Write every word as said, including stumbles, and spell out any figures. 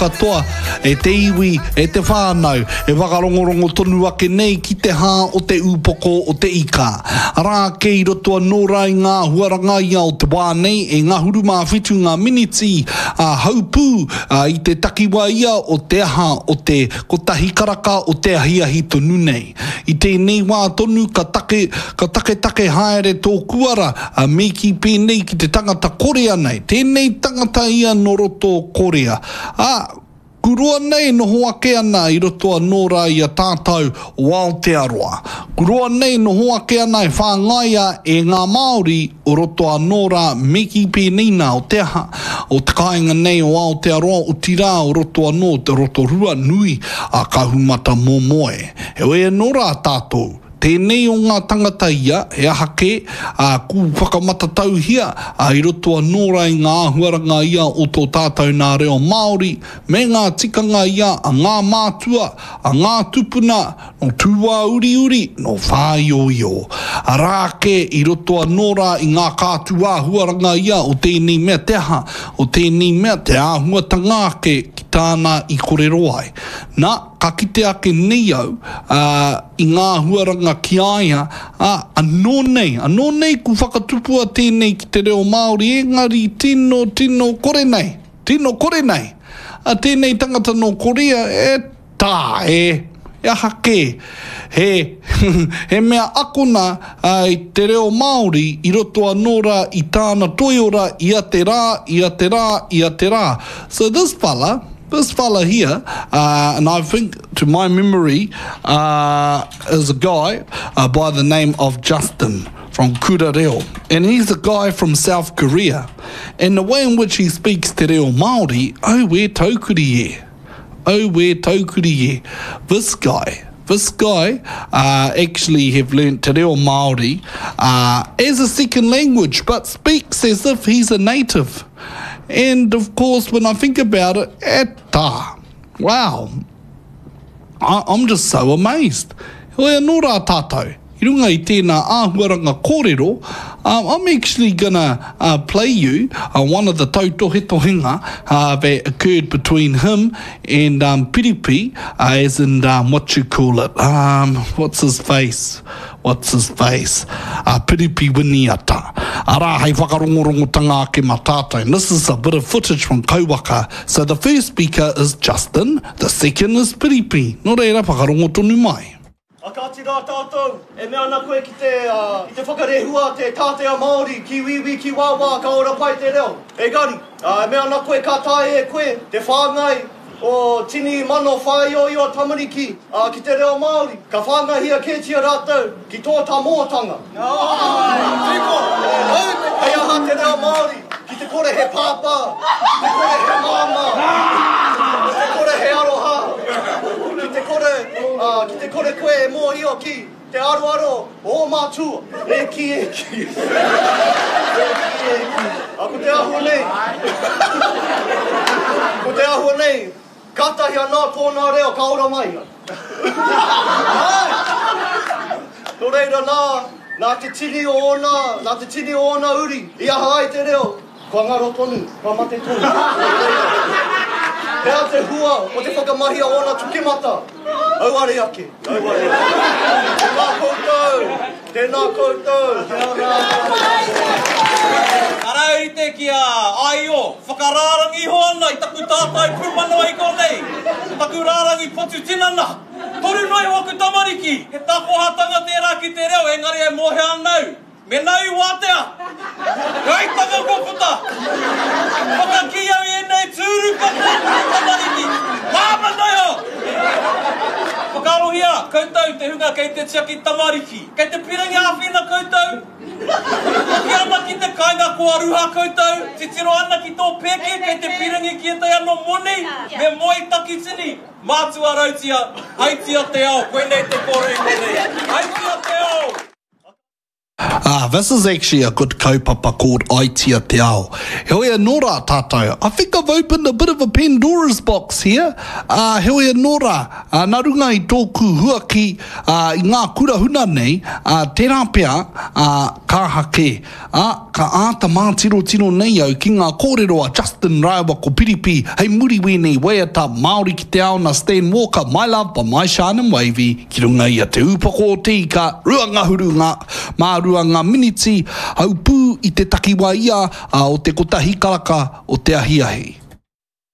Katoa, e te iwi, e te whānau, e whakarongorongo tonu ake nei ki te hā o te ūpoko o te ika. Arā ake i roto anō rā i ngā āhuaranga ia o te wā nei e ngahuru mā whitu ngā miniti a haupū i te takiwā ia o te aha o te kotahi karaka o te ahiahi tonu nei. I tēnei wā tonu ka take, ka taketake haere tōku ara, a me kī pēnei ki te tangata Korea nei, tēnei tangata ia nō roto o Korea. Ā, ku roa nei e noho ake ana i roto anō rā i a tātou o Aotearoa. Ku roa nei e noho ake ana e whāngaia e ngā Māori o roto anō rā me kī pēnei nā o te aha, o te kāinga nei o Aotearoa otirā o roto anō o te Rotorua nui a Kahumatamomoe. Heoi anō rā tātou. Tēnei o ngā tangata ia, he aha kē, ā, ku whakamatatauhia, ā, i roto anō rā i ngā āhuaranga ia o tō tātou nā reo Māori, me ngā tikanga ia a ngā mātua, a ngā tupuna, nō Tūāuriuri, nō Whāioio. Arā ake, i roto anō rā i ngā kātū āhuaranga ia o tēnei mea te aha, o tēnei mea te āhuatanga ake ki tāna i korero ai. Nā, ka kite ake nei au, ā, i ngā āhuaranga ki a ia, ā, anō nei, anō nei ku whakatupua tēnei ki te reo Māori, engari tino, tino kore nei, tino kore nei. Ā, tēnei tangata nō Korea, e tā, e, he aha kē, he, he mea akona, ā, i te reo Māori i roto anō rā i tāna toiora ia te rā, ia te rā, ia te rā. So this fella, This fella here, uh, and I think to my memory, uh, is a guy uh, by the name of Justin from Kura Reo. And he's a guy from South Korea. And the way in which he speaks Te Reo Māori, oh, we're taukuri e. Oh, we're taukuri e. This guy, this guy uh, actually have learnt Te Reo Māori uh, as a second language, but speaks as if he's a native. And of course, when I think about it, eta, wow, I, I'm just so amazed. Hoi anō rā tātou, i runga i tēnā āhuaranga kōrero, um, I'm actually gonna uh, play you uh, one of the tautohetohenga uh, that occurred between him and um, Piripi, uh, as in um, what you call it, um, what's his face? What's his face? A Piripi Winiata. Arā, hei whakarongorongotanga ake mā tātou. And this is a bit of footage from Kauwaka. So the first speaker is Justin, the second is Piripi. Nō reira, whakarongo tonu mai. A kāti rā tātou, e mea ana koe ki te, ki te whakarehua te tātea Māori ki wīwī ki wāwā ka ora pai te reo. Engari, e mea ana koe ka taea e koe te whāngai o tini mano whāioio tamariki ki te reo Māori, ka whāngaihia kētia rātou ki tō tamōtanga. Hei aha te reo Māori ki te kore he pāpā, ki te kore he māmā, ki te kore he aroha, ki te kore, ki te kore koe e mōhio ki te aroaro o ō mātua. E kī, e kī. E kī, e kī. A ko te āhua nei, ko te āhua nei, kātahi anō tōna reo ka ora mai. Āe! Nō reira nā, nā te tini o ōna, nā te tini o ōna uri i aha ai te reo, Kua ngaro tonu, kua mate tonu. He aha te hua o te whakamahia o ōna tukemata? Auare ake, auare ake. Tēnā koutou, tēnā koutou. Kia ora. Arā e rite ki a Aio, whakarārangi iho ana i taku tātai pūmanawa i konei, taku rārangi potu tinana. Toru noa iho aku tamariki, he takohatanga tērā ki te reo, engari e mōhio ana au, Mena i wātea, he aitanga kua puta. Whakakī au i ēnei tūru katoa ki te tamariki. Māmā noa iho! Whakaarohia koutou te hunga kei te tiaki tamariki. Kei te pirangi āwhina koutou? Hoki ana ki te kāinga kua ruha koutou, titiro ana ki tō pēke kei te pirangi ki ētahi anō moni, me moe takitini. Mātua rautia, haitia te ao, koinei te kōrero i konei. Haitia te ao! Ah, this is actually a good kaupapa called Aitia Te Ao. Heoi anō rā tātou, I think I've opened a bit of a Pandora's box here. Ah, heoi anō rā, ah, nā runga i tōku huaki ah, i ngā kura huna nei, ah, tērā pea, ah, ka aha kē. Ā, ka āta mātirotiro nei au ki ngā kōrero a Justin rāua ko Piripi hei muri wēnei waiata Māori ki te ao nā Stan Walker, My Love by My Shine and Wavy ki runga i a Te Ūpoko o Te Ika, rua ngahuru ngā, mā rua ngā miniti, haupū i te takiwā ia o te kotahi karaka o te ahiahi.